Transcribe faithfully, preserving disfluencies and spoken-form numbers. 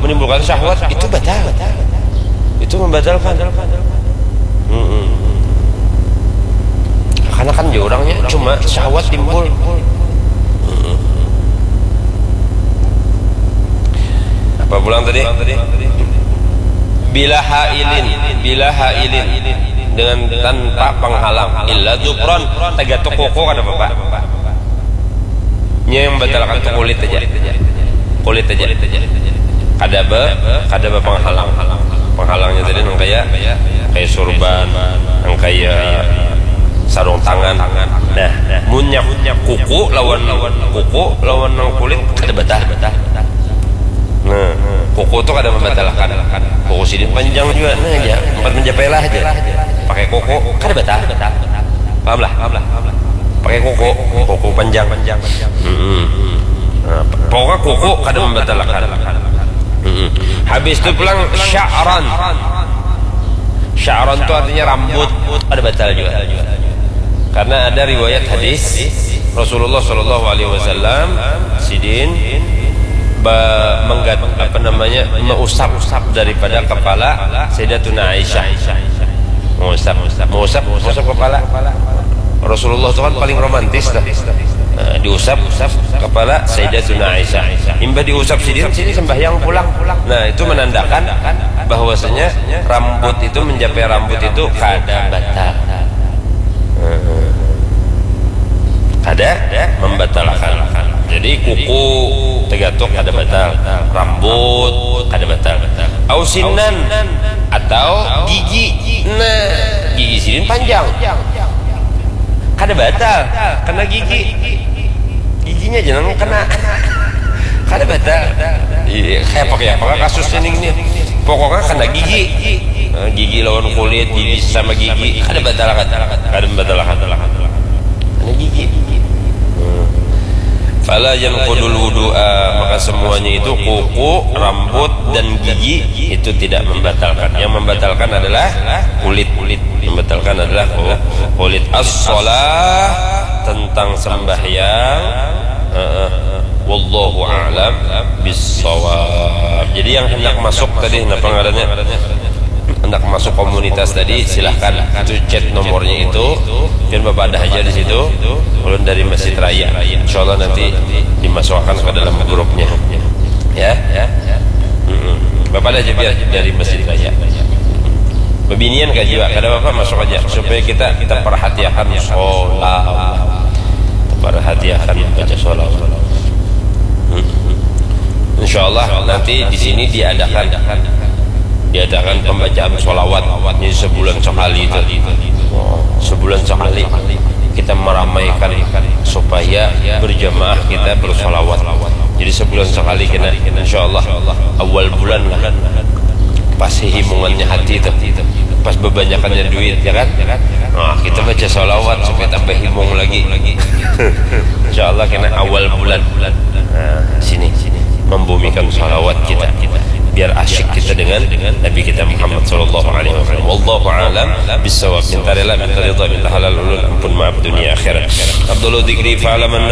Menimbulkan syahwat, itu batal. Itu membatalkan. Mm-mm. Karena kan dia orangnya cuma syahwat timbul. Mm-mm. Apa pulang tadi? Bila hailin, bila hailin, dengan tanpa penghalang, illa zufran, tagatuk kuku kada apa-apa. Nya yang batalkan tu kulit aja. Kulit aja. Kada ba, kada ba penghalang. Penghalangnya tadi nang kaya, kaya surban, nang kaya sarung tangan. Nah, munnya kuku lawan, kuku lawan nang kulit kada batal. Nah, kuku tu kada membatalkan. Kuku sidin panjang juga, nah aja, empat menjapailah aja. Pakai kuku kada batal. Paham lah? Pakai kuku, kuku panjang. Mm-mm. Nah, pokoknya kuku kada membatalkan. Mm-mm. Habis tu pulang sya'ran. Sya'ran tu artinya rambut, kada batal juga. Karena ada riwayat hadis Rasulullah Shallallahu Alaihi Wasallam sidin ba-, menggat-, apa namanya, mengusap daripada kepala Sayyidatuna Aisyah. Mengusap, mengusap, mengusap kepala. Rasulullah itu kan paling romantis dah. Nah, diusap kepala Sayyidatuna Aisyah. Imbah diusap sidin, sidin sembahyang pulang. Nah, itu menandakan bahwasanya rambut itu, mencapai rambut itu kada batal. Kada membatalkan. Jadi kuku tagatuk kada batal, rambut kada batal. Au sinan, atau gigi. Nah, gigi sidin panjang. Kada batal, kena gigi. Giginya jangan kena. Kada batal. Iya, kayak apa, kayak apa kasusnya nih, nih? Pokoknya kena gigi. Nah, gigi lawan kulit, gigi sama gigi. Kada batal, kada, kada batal, kada. Kena gigi. Hmm. Fala yanqudul wudu'a, maka semuanya itu, kuku, rambut, dan gigi, itu tidak membatalkan. Yang membatalkan adalah kulit. Membatalkan adalah ku-, kulit. As-shalah, tentang sembahyang. Heeh. Wallahu a'lam bissawab. Jadi yang hendak masuk tadi, napa ngarannya? Hendak masuk komunitas tadi, silahkan. Itu chat nomornya itu. Pian bapadah aja di situ. Ulun dari Masjid Raya. Insya Allah nanti dimasukkan ke dalam grupnya. Ya. Mm-mm. Bapadah aja pian dari Masjid Raya. Bebinian kah jua, kada apa-apa, masuk aja. Supaya kita, kita perhatiakan sholawat. Perhatiakan baca sholawat. Mm-mm. Insya Allah nanti di sini diadakan, diadakan pembacaan sholawat. Ini sebulan sekali itu. Sebulan sekali kita meramaikan supaya berjamaah kita bersolawat. Jadi sebulan sekali kena, insya Allah awal bulan lah. Pas himungannya hati itu, pas bebanyakannya duit, ya kan? Nah, kita baca sholawat supaya tambah himung lagi. Insya Allah kena awal bulan. Nah, sini, sini. Membumikan sholawat kita. Biar asyik kita dengan Nabi kita Muhammad sallallahu alaihi wasallam. Wallahu a'lam bissawab. Minta rela, minta ridha, minta halal ulun, ampun maaf dunia akhirat. Abdullah Dikri, fa'laman